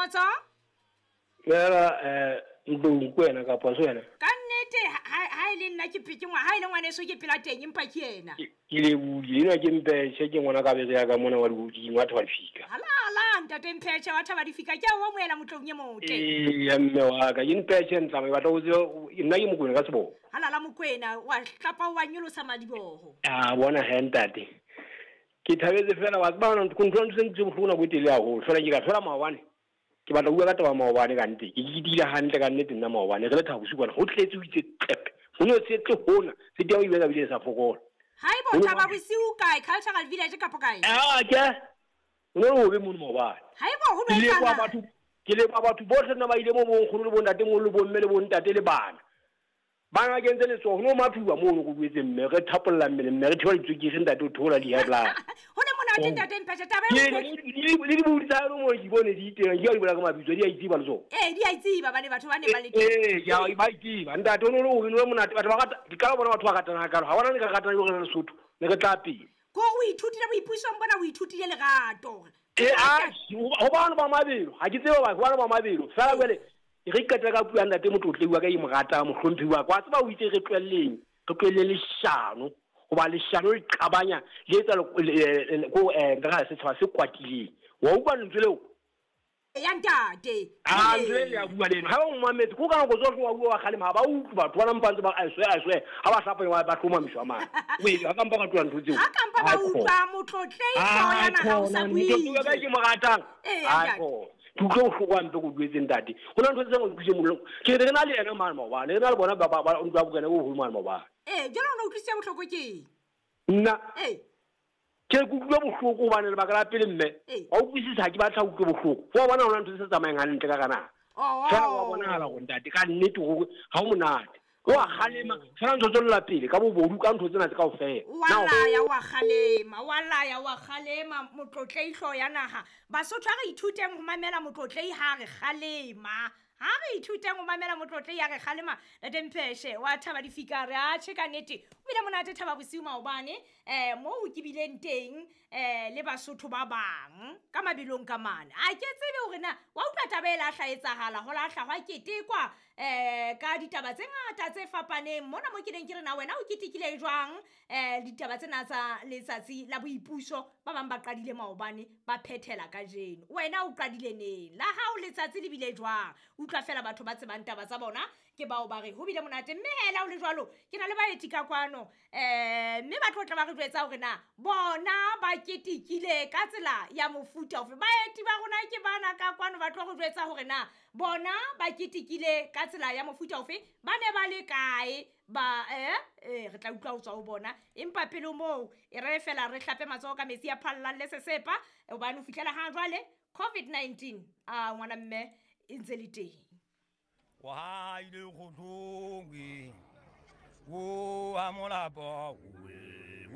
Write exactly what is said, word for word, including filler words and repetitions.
Kgotso? Fela eh Ntlong kwena kapa so wena? Ka nnete ha e le nna ke ke ngwa ha e le ngwaneso ke pela teng empa ke yena. Ke le bule ena ke Mpetjhe ke ngwana ka bere ya ka mona wa di wa thaba difika. Hala hala ntate Mpetjhe wa thaba difika ke a o amohela motlong e motle. Eh ya mme wa ka ke Mpetjhe ntlama ke batla ho tseba nna ke Mokwena ka seboko. Hala la Mokwena wa hlapa wa nyolosa madiboho. Ah bona he ntate. Ke thabetse fela wa tseba ntho ntho ntse ntse bohloko nako e telele haholo fela ke ka thola maobane. Ke batla ho bua ka taba maobane ka nnete. Ke ketekile hantle ka nnete nna maobane re le Thaba Bosiu kwana ho tletse ho itse qepe. Ho no se tle hona se teng o ile bile sa fokola. Haibo Thaba Bosiu kae Cultural Village kapo kae? Ah ke. Ho no ho be mono maobane. Haibo ho no etsahala. Batho ke le ba batho bohle nna ba ile mo bonkgono le bontate mo le bomme le bontate le bana. Bana ke ntse letsoho no mathuwa mono go buetse mme re thapolla mmele mme re thola ditswekere ntate o thola di high blood. Ho ne monate ntate Mpetjhe taba e le di bodi tsa mo ke bone di teng ke a di bola ka mabitso di a itsiba le tsona. Eh di a itsiba bane batho ba ne ba le teng. Eh ke a ba itsiba ntate o no o no monate batho ba rata ke ka bona batho ba ratana ka ha bona ne ka ratana le re Lesotho ne re tla pele. Ko o ithutile boipusong bona o ithutile lerato. Eh a ho bana ba mabelo ha ke tsebe ba bana ba mabelo fela jwale re qeta ka puo ya ntate motlotle wa ka e mo rata mohlomphi wa kwa tseba o itse re tlwelleng re tlwelle leshano hoba leshano le qabanya le etsa ko eh nka setshaba se kwatileng wa utlwa lentswe leo ya ntate ah ntswe le ya bua leno ha o mametse ko ka nako tsohle wa bua wa kgalema ha ba utlwe batho ba mpantse ba a swe a swe ha ba hlapa ba ba hlomamiswa mane o e ha ka mpa ka tlola ntho tseo ha ka mpa ba utlwa motlotle hlooho ya naha o sa bue ka ke mo ratang a ko ke utlwe bohloko hampe ko buetse ntate ho na ntho tse ngwe ke mollo ke re na le yena mane maobane re na le bona ba ba ntlo ya bokene bo holo mane maobane eh jalo o utlwisitse bohloko ke nna eh ke ke utlwe bohloko hobane lebaka la pele mme wa utlwisisa ha ke batla utlwe bohloko wa bona hona ntho tse tsamayang hantle ka kana fela wa bonahala hore ntate ka nnete hore ha o monate wa kgalema fela ntho tswella pele ka bobodu ka ntho tsena tse kaofela wa laya wa kgalema wa laya wa kgalema motlotlei hlooho ya naha Basotho ha re ithuteng ho mamela motlotlei ha re kgalema ha re ithuteng ho mamela motlotlei ha re kgalema ntate Mpetjhe wa thaba difika re a tjhe ka nnete o bile monate Thaba Bosiu maobane eh moo ke bileng teng eh le Basotho ba bang ka mabelong ka mane a ke tsebe hore na wa utlwa taba e la hlaetsahala ho la hlahwa ketekwa eh ka ditaba tse ngata tse fapaneng mona mo ke neng ke re na wena o ketekile jwang eh ditaba tsena tsa letsatsi la boipuso ba bang ba qadile maobane ba phethela kajeno wena o qadile neng la hao letsatsi le bile jwang utlwa fela batho ba tsebang taba tsa bona ke bao ba re ho bile monate mme hela o le jwalo ke na le baeti ka kwano eh mme ba tlo tla ba re jwetsa hore na bona ba ketekile ka tsela ya mofuta ofe baeti ba rona ke bana ka kwano ba tlo re jwetsa hore na bona ba ketekile ka tsela ya mofuta ofe ba ne ba le kae ba eh eh re tla utlwa ho tswa ho bona empa pele moo e re fela re hlape matsoho ka metsi a phallang le sesepa hobane ho fihlela ha jwale COVID nineteen a ngwana mme e ntse le teng wa ile go tlongwe o a molapo